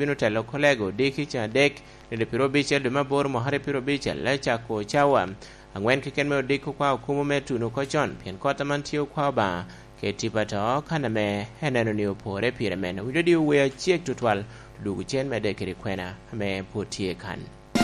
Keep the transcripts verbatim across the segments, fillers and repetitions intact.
bino telo kolego odiki ceŋ adek, nino piro abicel dwe me aboro mwaka aryo piro abicel, cako cawa angwen keken me odiko kwa okumo me tuno oko con, pien kot aman tye okwa Obaŋa, kede tipo ato kan ame eneno ni opore pire men. Owinyo di owe acek tutwal, dwogo cen medde kede kwena ame pwod tye kan.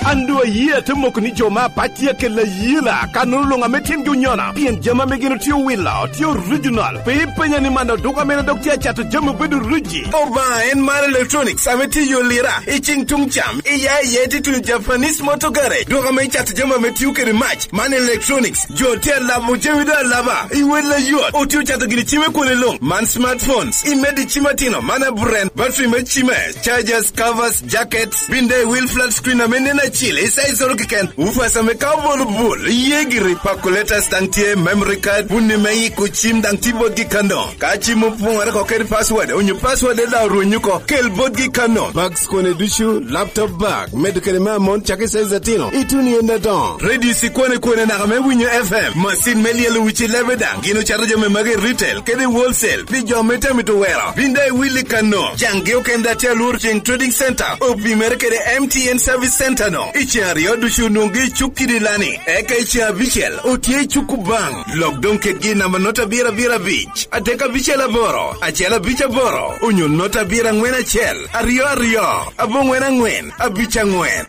An doŋ ayie ate moko ni jo me apac tye akella ayela, kannono luŋ ame tyengi onyona, pien jami ame gin otye owilo tye original. Pe ipenya ni man oduka mene dok tye acato jami obedo riji. Obaŋa en mar Electronics ame tye i Olira, i ceng tuŋ cam, i ya i ya i titino Japanese Motor Garage. Duka ame icato jami ame tio kede mac, man Electronics. Jo tye alabo jami doŋ alaba, i wel ayot. Otye ocato gini cime kwone luŋ, man smartphones, i medi cim atino, man aburen, battery me cime, chargers, covers, jackets, bin daŋ i wil flat screen ame nen acil, i size oro keken, ufas ame ka obolo bul, iye giri, calculators daŋ tye, memory card, wunni me yiko cim daŋ tye botgi kano. Ka cim opoŋore oko kede password, onyo password daŋ orwenyo oko, kel botgi kano. Bags kone ducu, laptop bag, medo kede me amon cak i size atino, ituno i ende adoŋo. Radio sikwane kwane naka me winyo F M, masin me lyelo wic i lebe daŋ, gin ocato jami magi i retail kede i wholesale, pi jo me tamito wero. Bin daŋ iwil i kano, caŋgi okene daŋ tye alworo ceŋ Trading Center, opimere kede M T N Service Center no. I ceŋ aryo ducu nwoŋgi i cuk kidi lani, eka i ceŋ abicel otye i cuk Obaŋa. Lok doŋ kedgi i namba nota abiro abiro abic, adek abicel aboro, acel abic aboro, onyo nota abiro aŋwen acel, aryo aryo, aboŋwen aŋwen, abic aŋwen.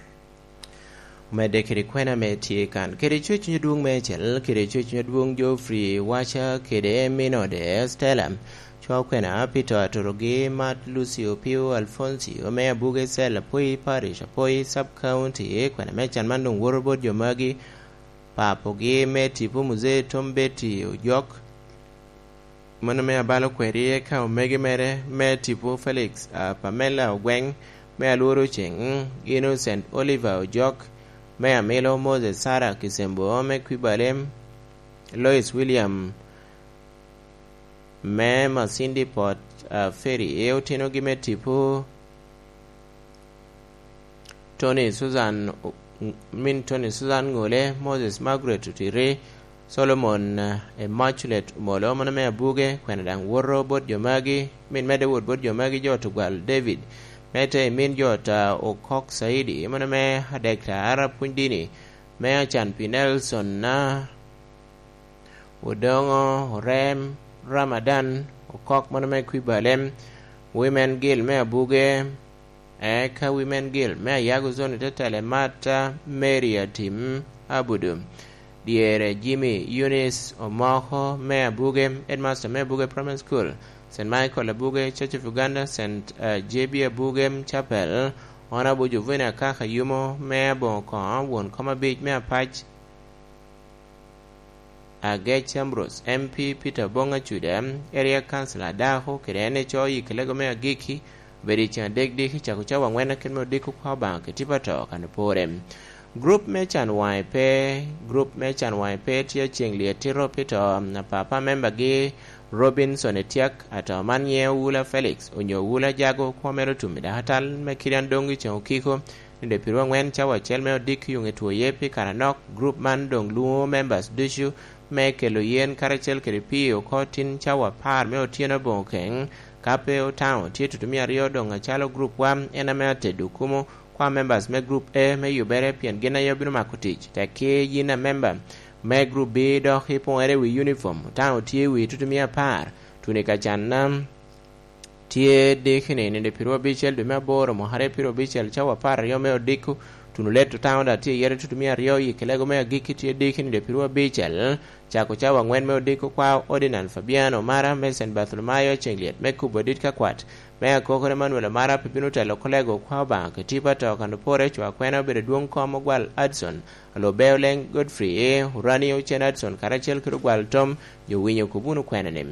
Omedde kede kwena ame tye kan, kede Cweccuny Adwoŋ Mecel, kede Cweccuny Adwoŋ Geoffrey Waca, kede min ode Stella. Cwa kwena pi to atorogi, Mat Lucio Pio Alfoncio, me Abuge Cell, Apoi Parish, Apoi Sub County. Kwena me can man doŋ woto bot jo magi, papogi me tipo Muzee Tom Betty Ojok, mano me abalo kweri, eka omege mere me tipo Felix, ah, Pamela Ogweng, me Alworo Ceng, Innocent Oliver Ojok, me Amilo Moses, Sarah Kisembo, me Kwibalem, Lois William, me Masindi Port, ah, Ferry, e otinogi me tipo Tony Susan, min Tony Susan Ngole, Moses Margaret Otiri, Solomon, eh, Immaculate Omolo, mano me Abuge, kwena daŋ woto bot jo magi, min medde wot bot jo magi, jo Tugwal David, me te i min jo ta Okok Saidi, mano me adek ta Arab Pwony Dini, me Acan pi Nelson na Odoŋo, Orem, Ramadan, Okok mano me Kwibalem, Women Guild me Abuge, eka Women Guild me Ayago Zone Tetele Mata, Mary Atim, Abudu, dyere Jimmy, Eunice Omoko me Abuge, Headmaster me Abuge Primary School, Saint Michael Abuge, Church of Uganda, Saint, eh, J B Abuge Chapel, Honorable Jovina Kaka Yumo me Aboŋo Koŋo, won kom abic me Apac, Agec Ambrose, M P Peter Obong Acuda, Area Councilor Adako, kede en ico i kelego me agikki, obedo i ceŋ adek diki, cako cawa aŋwen akin me odiko kwa Obaŋa kede tipo ato kan opore. Grup me can waŋe pe, grup me can waŋe pe tye ceŋ lyet tito pi to, apapa membagi Robinson Etiak, ato man nyiŋe Owula Felix, onyo Owula Jago, kwo mere otum i dakatal me kidi an doŋ i ceŋ okiko, nino piro aŋwen cawa acel me odiko yuŋ etwoye pi kare anok. Grup man doŋ lwoŋo members ducu me kelo yen karacel kede pii oko tin cawa apar me otyeno aboŋo keŋ. Ka pe otaŋo, tye tutumia aryo doŋ acalo grup wa, en ame atedo okumo kwa members me grup A me yubere, pien gin aye obino mako tic. Tekki yin a member me grup B dok ipoŋere i wi uniform, otaŋo tye i wi tutumia apar, tuni ka canna. Tye diki ni, nino piro abicel dwe me aboro, mwaka aryo piro abicel, cawa apar aryo me odiko, tuno let otaŋo daŋ tye i yere tutumia aryo, i kelego me agikki tye diki nino piro abicel, cako cawa aŋwen me odiko kwa Ordinal Fabiano Omara me Saint Bartholomayo, ceŋ lyet me kubo adit ka kwat me akokoro Emmanuel Omara pe bino telo kolego kwa Obaŋa kede tipo ato kan opore, cwa kwena obedo adwoŋ kom Ogwal Adson, alubbe Oleng Godfrey, Urani Ocen Adson, karacel kede Ogwal Tom, jo winyo kub wunu kwena ni.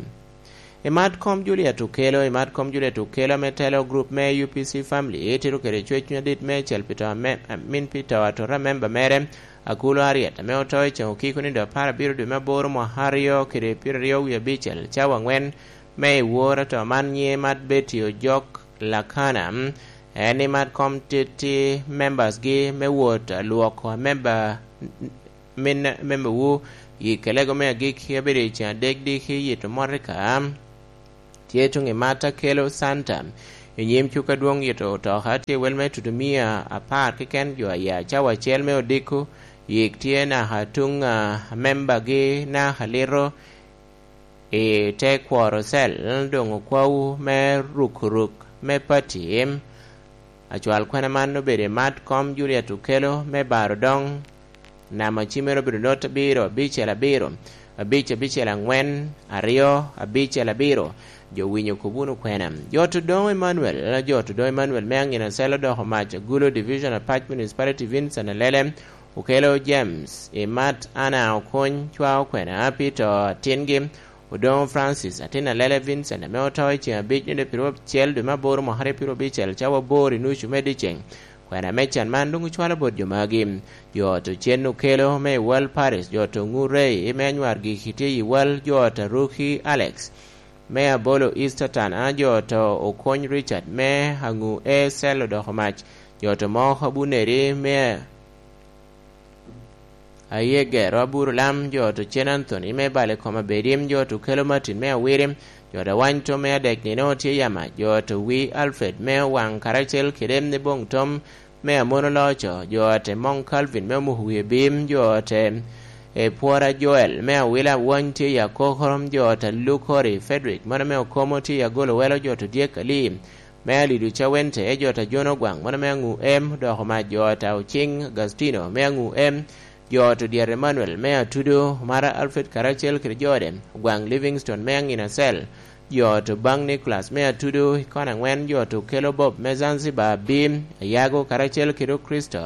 I mat kom Juliet Okello, i mat kom Juliet Okello ame telo grup me U P C Family, tito kede cwec cuny adit me cel pi to ame, min pi to atora memba mere, Akulo Ariet, ame oto i ceŋ okiko nino apar abiro dwe me aboro mwaka aryo kede pyeraryo wie abicel, cawa aŋwen me i wor ato man nyiŋe mat Betty Ojok Lakana. En i mat kom titi members gi me wot lwoko memba min membawu i kelego me agikki abedo i ceŋ adek diki yito motoka. Tye tuŋ i mat Akello Santa, I nyim cuk adwoŋ yito otoka tye wel me tutumia apar keken jo aya cawa acel me odiko, yik tye naka tuŋ a membagi naka lito i te kworo cel, doŋ okwawu me rukuruk me pati. Acwal kwena man obedo i mat kom Juliet Okelo me baro doŋ. Namba cimere obedo not abiro, abicel abiro, abic abicel aŋwen, aryo, abicel abiro. Jo winyo kop wunu kwena. Jo to doŋ Emmanuel, jo to doŋ Emmanuel me aŋina cel odoko mac Agulo Division Apac Municipality Vincent Alele, Okelo James, i mat Ana Okuny, cwa okwena pi to atingi, Odoŋo Francis, atin Alele Vincent, ame oto i ceŋ abic nino piro acel dwe me aboro mwaka aryo piro abicel, cawa aboro i nucu me dyeceŋ. Kwena me can man doŋ ocwalo bot jo magi. Jo ot ocen Okelo me i Wal Paris, jo ot Oŋu Rey me anywar giki tye i Wal, jo ot Aruki Alex me Abolo East Atana, jo ot Okony Richard me Aŋu E Cell odoko mac, jo ot Omok Abuneri me Aye gero aburo lam, jo ot Ocen Anthony me bale kom abedim, jo ot Okelo Martin me Awirim, jo ot Awany Tom me adek nino tye yama, jo ot Owi Alfred me Owaŋ karacel kede ni Boŋ Tom me Amono Loco, jo ot Emoŋ Calvin me Omuko Wie Bim, jo ot Epwora Joel me Awila Awany tye i Akoko, jo ot Alukori Frederick mano me Okomo tye i Agolo Welo, jo ot Odyek Ali me Alidu Cawente, jo ot Ajono Gwaŋ mano me Aŋu M, dok omac jo ot Ocing Agastino me Aŋu M, jo ot Odyat Emmanuel me Atudo, Mara Alfred karacel kede jode, Ogwaŋ Livingstone me Aŋina Cell, jo ot Obaŋ Nicholas me Atudo i kona aŋwen, jo ot Okelo Bob me Zanzibar Bim, Ayago karacel kede Okristo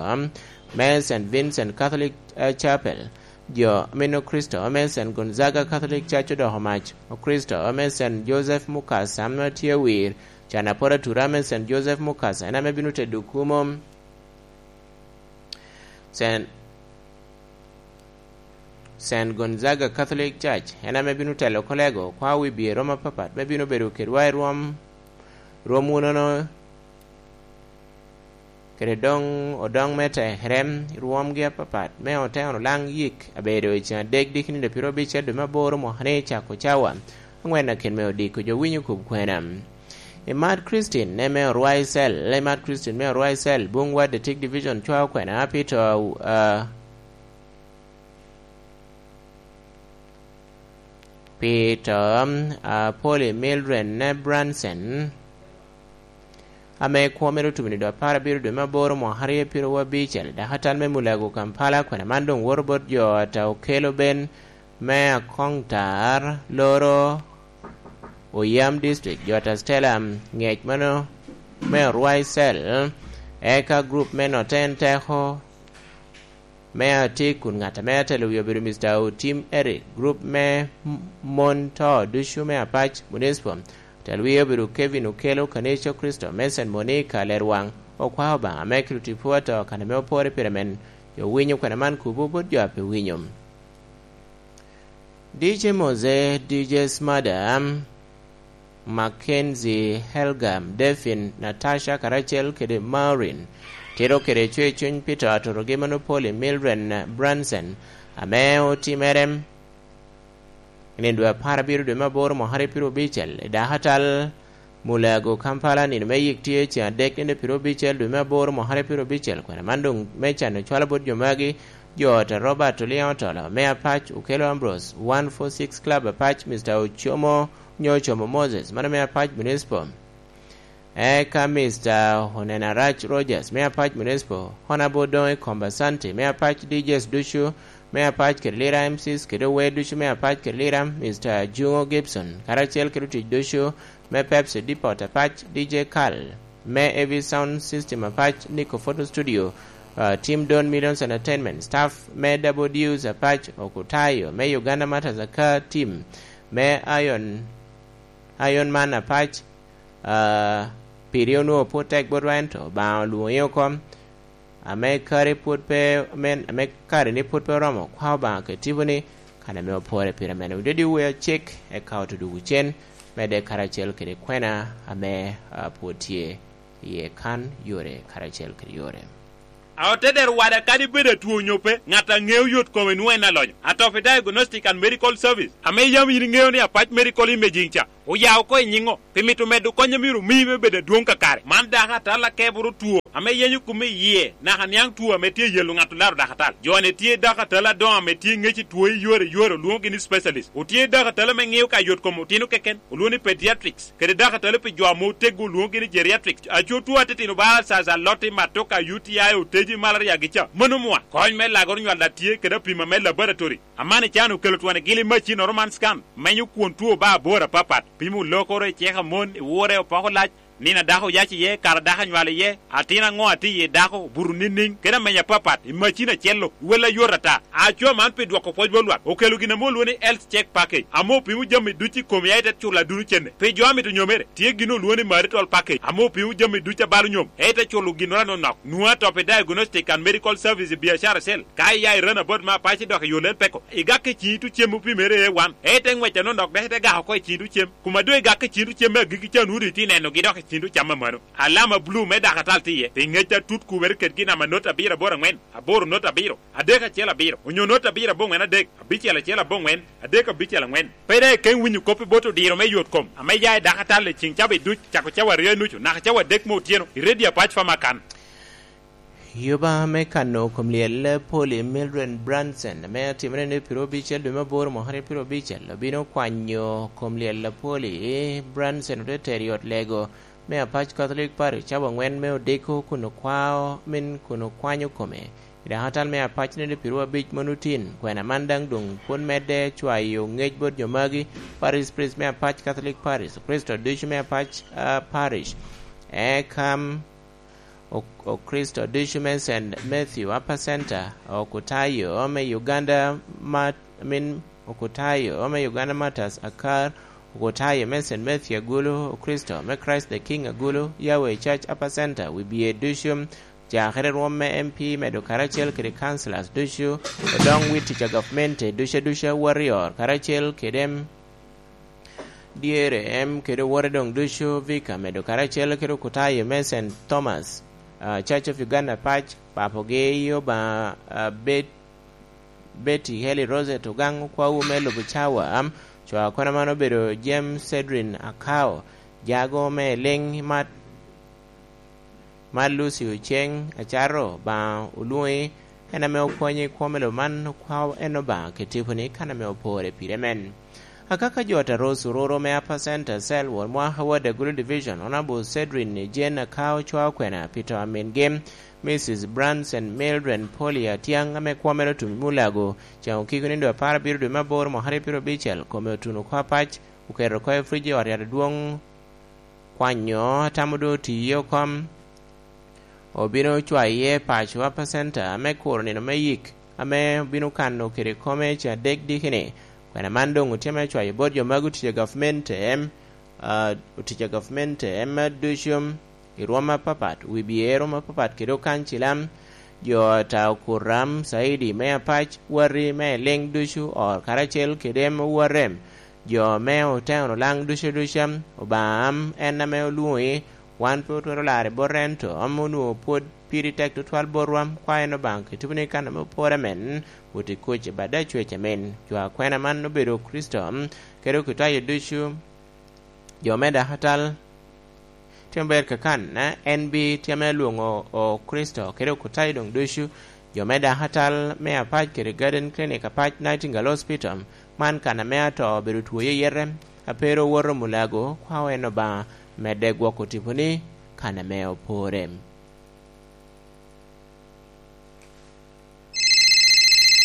me Saint Vincent Catholic, eh, Chapel, jo meno Okristo me Saint Gonzaga Catholic Church odoko mac, Okristo me Saint Joseph Mukasa ame tye wir, Canapora Tura me Saint Joseph Mukasa en ame bino tedo kumo. Saint, Saint Gonzaga Catholic Church en ame bino telo kolego kwa wi bye romo apapat me bino bedo kedwa i rwom, rwom wunono kede doŋ odoŋ me tekere, rwomgi apapat me oteno laŋ yik abedo i ceŋ adek diki nino piro abicel dwe me aboro mwaka ni cako cawa aŋwen akin me odiko jo winyo kub kwena. Imat Christine ne me orwaicel, imat Christine me orwaicel, Bung Wad Detik Division cwa okwena, Peter, uh, Peter, uh, Polly Mildred ne Branson, ame kwo mere otubo ni dwe apar abiro dwe me aboro mwaka aryo piro wabicel, dakatal me Mulago Kampala, kwena man doŋ woto bot jo ata Okelo Ben me Akoŋtar, Loro, Oyam District, jo ata Stella, ŋec mano me Orwai Cell, eka group me Noten Teko, me Atik kun ŋat ame atelo wi obedo Mister Otim Eric, group me m-, mon to ducu me Apac Municipal, atelo wi obedo Kevin Okelo Kanico Kristo me Saint Monica Lerwaŋ, okwa Obaŋa me kelo tipo ato kan ame opore pire men, jo winyo kwena man kubo bot jo a pe winyo. D J Mose, D J Smada, Mackenzie, Helga, Devin, Natasha, karacel kede Maureen. Tito kede cwe cuny pi to aturogi Monopoli Mildred Branson, ame otimere i nino dwe apar abiro dwe me aboro mwaka aryo piro abicel, i dakatal Mulago, Kampala, nino me yik tye ceŋ adek nino piro abicel dwe me aboro mwaka aryo piro abicel. Kwena man doŋ me can ocwalo bot jo magi, jo ot a Robert Oliaŋ Otolo me Apac, Okelo Ambrose, one four six Club Apac, Mister Ocomo, nyo Ocomo Moses, mano me Apac Municipal. Eka Mister Onenarach Rogers me Apac Municipal, Honorable Doŋi Komba Santi me Apac, D Js ducu me Apac kede Lira, M Cs kede ower ducu me Apac kede Lira, Mister Juŋo Gibson, karacel kede otic ducu me Pepsi Depot Apac, D J Carl me A V Sound System Apac, Nico Photo Studio, uh, Team Don Millions Entertainment, staff me Double Deuce Apac, Okutayo me Uganda Martyrs Aka Team me Iron, Iron Man Apac, uh, piri onwoŋo pwod tek botwa, ento Obaŋa olwoŋi oko. Ame kare pwod pe, men, ame kare ni pwod pe oromo, kwa Obaŋa kede tiponi, kan ame opore pire men. Wudedi wuwe acik, eka oto dwogo cen, medde karacel kede kwena ame, ah, pwod tye iye kan yore karacel kede yore. A otedero wada kadi bed atwo onyo pe, ŋat a ŋeo yot kome nwoŋo en alonyo. Atofi Diagnostic and Medical Service, ame yam yin iŋeo ni Apac Medical Imaging ca, Oya oko i nyiŋo? Pi mito medo kony a myero omi me bedo adwoŋ kakare. Man dako atal akeboro two ame yenyo kome i yie, naka niaŋ two ame tye yelo ŋat olaro dako atal. Jo-ni tye dako atal adoŋo ame tye ŋec i two i yore i yore, olwoŋogi ni specialist. Otye dako atal ame ŋio ka yot kom otino keken, olwoŋo ni pediatrics, kede dako atal pi jo ame oteggo, olwoŋogi ni geriatrics. Aco two atitino ba alsaza, lotti, matoka, U T I, oteji, malaria gi ca. Mano mwa. Kony me lagoro nywal a tye kede apima me laboratory. Aman i can okelo twon i gili macinnoro man scan, menyo kwon two ba abor apapat, pimo lokoro i cek a mon, i wure, opoko lac, nino a dako oyac iye, kare a dako anywalo iye, atin aŋo a tye iye dako, obuto niŋniŋ, kede ameny apapat, i macin acel-lu, wel ayot ata. Aco man pi dwoko pwoc bot lwak, okelo gin ame olwoŋo ni Health Check Package, ame opimo jami ducu i kom ya ite culo aduno cene. Pi jo a mito nyomere, tye gin olwoŋo ni Marital Package, ame opimo jami ducu a balo nyom, ya ite culo ginnoro anonok. Nwoŋo atop i Diagnostic and Medical Service i biacara acel. Ka iya i Runabout me Apac idok i yo Lel Peko, igak i ciŋ itu cem opimere A one, ete ŋwec anonok dok ite gak oko i ciŋ itu cem. Kuma doŋ igak i ciŋ itu cem me agikki ca, nwoŋo doŋ itye nenogi dok i ciŋ itu cam amano. Alama bulu me dako atal tye iye, pi ŋec atut kubere kedgi namba not abiro aboro aŋwen, aboro not abiro, adek acel abiro, onyo not abiro aboŋwen adek, abicel acel aboŋwen, adek abicel aŋwen. Pe daŋ ikeŋ winyo kop i bot odiro me yot kom ame ya i dako atal i ciŋ cawa iduc, cako cawa aryo i nucu naka cawa adek me otyeno, i redio Apac Famakan. Yuba me kano kom lyel Polly Mildred Branson, ame atimere ni piro abicel dwe me aboro mwaka ni piro abicel, obino kwanyo kom lyel Polly Branson ote tero i ot lego me Apac Catholic Parish cawa aŋwen me odiko kun okwao, min kun okwanyo kome. I dako atal me Apac ni piro abic mano tin, kwena man daŋ doŋ pwod medde cwayo ŋec bot jo magi. Parish priest me Apac Catholic Parish, Kricito ducu me Apac, ah, Parish, Ekam, O-, Okricito ducu me Saint Matthew Upper Center, Okutayo me Uganda, Mat-, I mean, Okutayo me Uganda Martyrs Akar, Okutayo me Saint Matthew Agulu, Okricito me Christ the King Agulu, Yahweh Church Upper Center, wibye ducu, cakere rwom me M P medo karacel kede councillors ducu, odoŋ wi tic a gavmente ducu aduca, Warrior karacel kede dyere, em, kede owote doŋ ducu, Vika medo karacel kede okutayo me Saint Thomas, ah, Church of Uganda Pac, papogi i Obaŋa, ah, Bet-, Betty Heli Rosette Ogaŋ, okwawu me lubo cawa, am, cwa kono man obedo James Cedrin Akao, jago me Liŋ Mat, Mar Lucy Oceng, acato Obaŋa olwoŋi, en ame okonyi i kwo me lobo man, okwa en Obaŋa kede tiponi kan ame opore pire men. Akaka jo Taros ororo me Upper Center Cell, won mwaka Ward Agulu Division, Honorable Cedrin Jane Akao cwao kwena pi to a mingi, Missus Branson Mildred Polly Atiaŋ, ame kwo mere otum i Mulago, ceŋ okiko nindo apar abiro dwe me aboro mwaka aryo piro abicel, kome otuno oko apac, oketo oko i fridge i ot yat adwoŋ, kwanyo atamo doŋ otiye oko, obino cwaye paco Upper Center me kuro nino me yik, ame obino kano kede kome ca adek diki-ni. Kwena man doŋ otye me cwayo bot jo magi otic a gavment em, ah, otic a gavment em ducu i rwom apapat, wi bye rwom apapat kede okancilam, jo ata okuram, caidi me Apac, wati me Liŋ ducu, or karacel kede em owate. Jo me Oteno Laŋ ducu aduca, Obaŋa am en ame olwoŋi, wan pe otwero lare bot en to, am onwoŋo pwod piri tek tutwal botwa, kwa en Obaŋa kede tiponi kan ame opore men, wot i kuc i bad acwec amin. Jo akwena man obedo Kricito, kede okutayo ducu, jo me dako atal, tye maber kakan, en bi tye ame lwoŋo o Kricito kede okutayo doŋ ducu, jo me dako atal me Apac kede Garden Clinic Apac, Nightingale Hospital, man kan ame ato obedo two iye yete, a pe ru owoto Mulago, kwao en Obaŋa medde gwoko tiponi kan ame opore.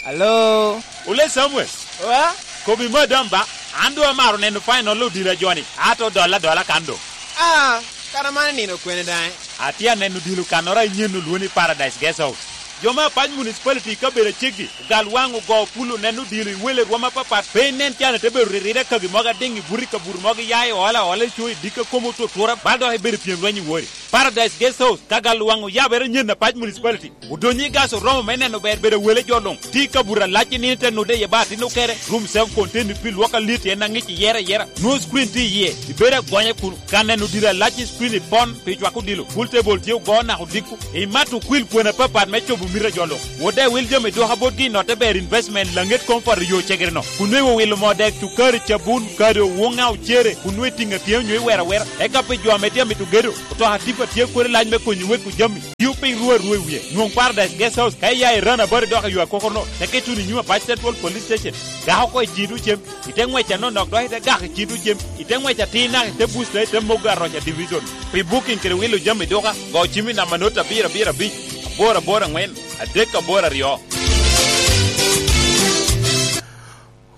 Alo? Ole Samuel. Wa? Kobi madam ba, an doŋ amaro neno final odilo a joni, ato dolla adola kan doŋ. Ah, kara man nino kwene daŋ? Atye aneno odilo kannoro a inyen olwoŋo ni Paradise Guest House. Jo me Apac Municipality i kabedo aceggi, ogal waŋ ogo pul oneno odilo i wele rwom apapat, pe inen can ite bedo riride kagi mogo adiŋ i buto i kabuto mogo, iya i ola ola, ico i dikka, komi otutura, bal dok ibedo i pyem lweny i wori. Paradise Guest House, ka gal waŋ oyabere nyen Apac Municipality. Odonyo i gas oromo me neno ber bedo wele jo luŋ. Tye i kabuto alac i nino te nude iye ba atin okere. Room self contained pi lwok alit en aŋic iyere ayera. Nwoŋo screen tye iye. Ibedo agonya kun ka neno diro alac i screen i pon pi cwako odilo. Pool table tye ogo naka odiko. Imato kwil kwena apapat me cobo mito a jo luŋ. Wode wil jami dwoka botgi i notte ber investment laŋet comfort i yo cegere-no. Kun nwoŋo iwilo moo dek, cukari, cabun, kado, woŋa, ocere, kun nwoŋo itiŋo atyem nyo iwero awera. Eka pi jo ame tye amito gedo, otoka tipa tye kodi lac me konyo weko jami. Tio piny rwo arwo i wie. Nwoŋ Paradise Guest House ka iya i Rana Bari dok i yo akokoro-no, teke ituno i nyim Apac Central Police Station. Gak oko i ciŋ tucem, ite ŋwec anonok dok ite gak i ciŋ tucem, ite ŋwec atir naka ite busta ite mogo aroca division. Pi booking kede wilo jami duka, go cim i namba not abiro abiro abic, aboro aboro aŋwen, adek aboro aryo.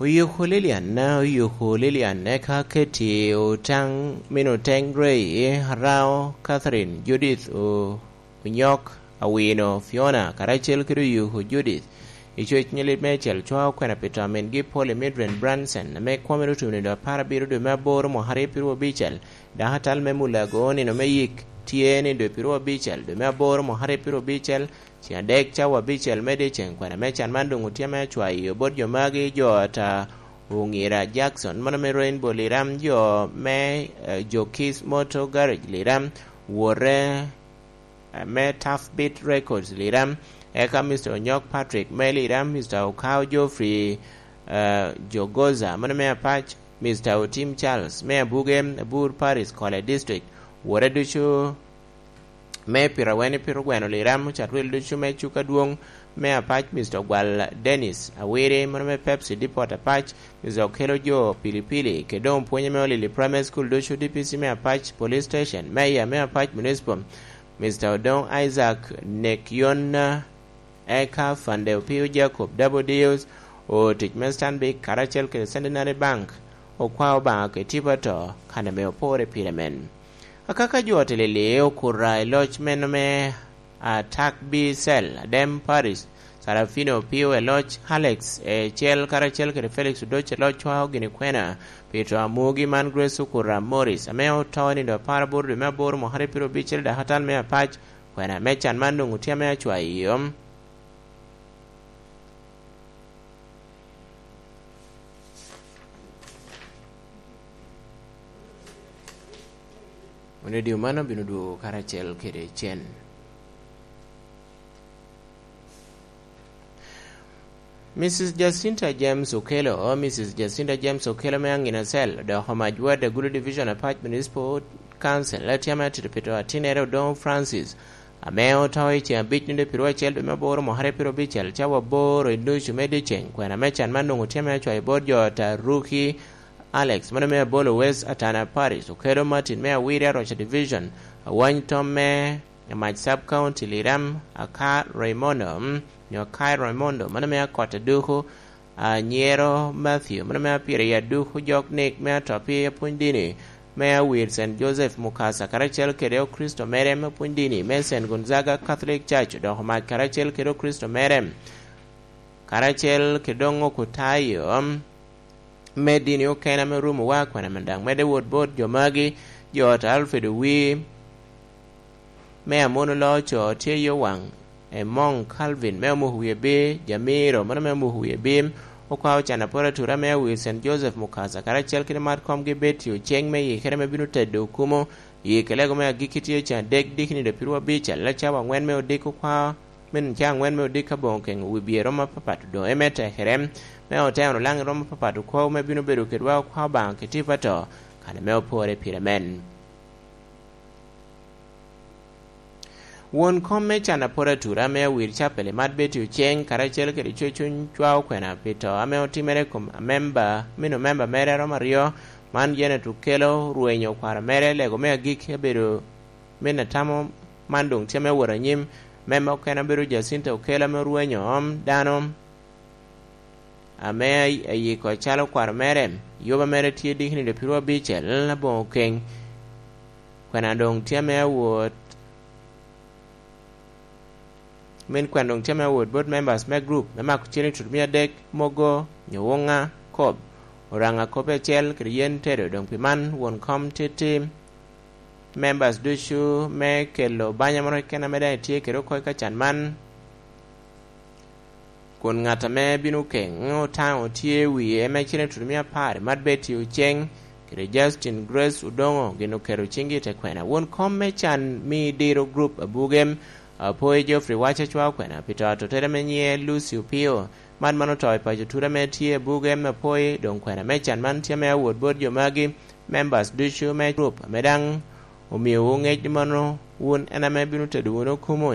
Oyuku Lilian, oyuku Lilian, eka keti otaŋ mino teŋ Ray, Arao, Catherine, Judith, o-, Onyok, Awino, Fiona, karacel kede oyuku Judith. I coc nyilit me acel cwa okwena pi to a mingi Polly Midren Branson, ame kwone otuno i dwe apar abiro dwe me aboro mwaka aryo pirwo abicel, dok atal me Mulago nino me yik tye ni dwe pirwo abicel dwe me aboro mwaka aryo pirwo abicel, Ceng adek cawa abicel me dyeceŋ, kwena me can man doŋ otye me acwayo bot jo magi, jo ata Oŋira Jackson, mano me Rainbow Liram, jo me, eh, jo Kiss Motor Garage Liram, wore, eh, me Tough Beat Records Liram, eka Mister Onyok Patrick me Liram, Mister Okao Geoffrey, eh, Jogoza, mano me Apac, Mister Otim Charles me Abuge, Abur Paris, Kole District, wore ducu me Piraweni Pirogweno Liram, Ocatwil ducu me Cuk Adwoŋ me Apac, Mister Ogwal Dennis Awiri, mano me Pepsi Depot Apac, Mister Okelo Jo Pilipili, kede doŋ pwonye me Olili Primary School ducu, D P C me Apac Police Station, Mayor me Apac Municipal, Mister Odoŋ Isaac Nekyonna, eka Fande Opio Jacob Double Deals, otic me Stanbic karacel kede Centenary Bank, okwao Obaŋa kede tipo ato, kan ame opore pire men. Akaka jo otelili okura i loc meno me Atak B Cell, Adem Paris, Sarafino Opio e loc, Alex e cel karacel kede Felix Odoc e loc cwao gini kwena pi to a mugi man Grace Okura Morris, ame oto i nindo apar aboro dwe me aboro mwaka aryo piro abicel dakatal me Apac, kwena me can man doŋ otye ame acwayo. Wun redio man obino dwogo karacel kede cen. Missus Jacinta James Okello, Missus Jacinta James Okello me Angina Cell, dok omac ward Agulu Division Apac Municipal Council, tye ame atito pito atinere Odoŋo Francis, ame oto i ceŋ abic nino pirwo acel dwe me aboro mwaka aryo piro abicel, cawa aboro i nucu me dyeceŋ, kwena me can man doŋ otye ame acwayo bot jo ata Ruki Alex, mano me Abolo West Atana Parish, Okello Martin me Awiri Aroca Division, Awany Tom me Amac Sub County Liram, Aka Raimondo, mm, nyo Akai Raimondo, mano me Akot Aduku, Anyero Matthew, mano me Apiri Aduku, Jok Nick me Atopi, Apwony Dini me Awir Saint Joseph Mukasa, karacel kede Okristo mere me Apwony Dini me Saint Gonzaga Catholic Church, odoko mac karacel kede Okristo mere, karacel kede doŋ Okutayo, mm, me dini okene ame orumo wa kwena men daŋ medde wot bot jo magi, jo ot Alfred Owii me Amono Loco tye yo waŋ, Emong Calvin me Omuko Wie Bim, Jamiro mano me Omuko Wie Bim, okwa ocan aporo atura me Awil Saint Joseph Mukasa, karacel kede mat komgi Betty Oceng me yikere me bino tedo okumo, yike lego me agikki tye ocan adek dikini dwe pirwa abic, alal cawa aŋwen me odiko kwa, me nino ca aŋwen me odiko aboŋo keŋ wi bye romo apapat odoŋe me tekere, me oteno laŋ i romo apapat okwawu me bino bedo kedwa okwa Obaŋa kitipa to, kane me opore pire men. Won kom me can apor atura me awir capel i mat Betty Oceng, karacel kede cocuny cwa okwena pi to ame otimere i kom amemba, mino memba mere aromo aryo, man Janet Okello, rwenyo kwaro mere, lego me agikki abedo me natamo, man doŋ tye me wot anyim, memba okene obedo Jacinta Okello ame orwenyo om dano ame ayiko calo kwaro mere, yoba mere tye dikni dwe pirwa abicel aboŋo keny. Kwena doŋ tye me awot, min kwena doŋ tye me awot bot members me group me mako cene tut mia adek, mogo, nyo woŋa, kop, oraŋa kop acel kede yen tedo, doŋ pi man won kom tye tim. members ducu me kelo banya moro keken ame daŋ etye kede oko i kacan man, kun ŋat ame bino keŋ otaŋo tye i wie, me cene tutumia apar, Mad Betty Oceng kede Justin Grace Odongo gin oketo ciŋgi i te kwena. Won kom me can mi diro group Abugem, Apoy Geoffrey Wac Acwa Okwena pi to atotere ame nyiŋe Lucy Opio. Man man oto i paco tut ame tye Abugem Apoy, doŋ kwena me can man tye ame awot bot jo magi, members ducu me group ame daŋ omiowu ŋec ni mano wun en ame bino tedo wunu kumo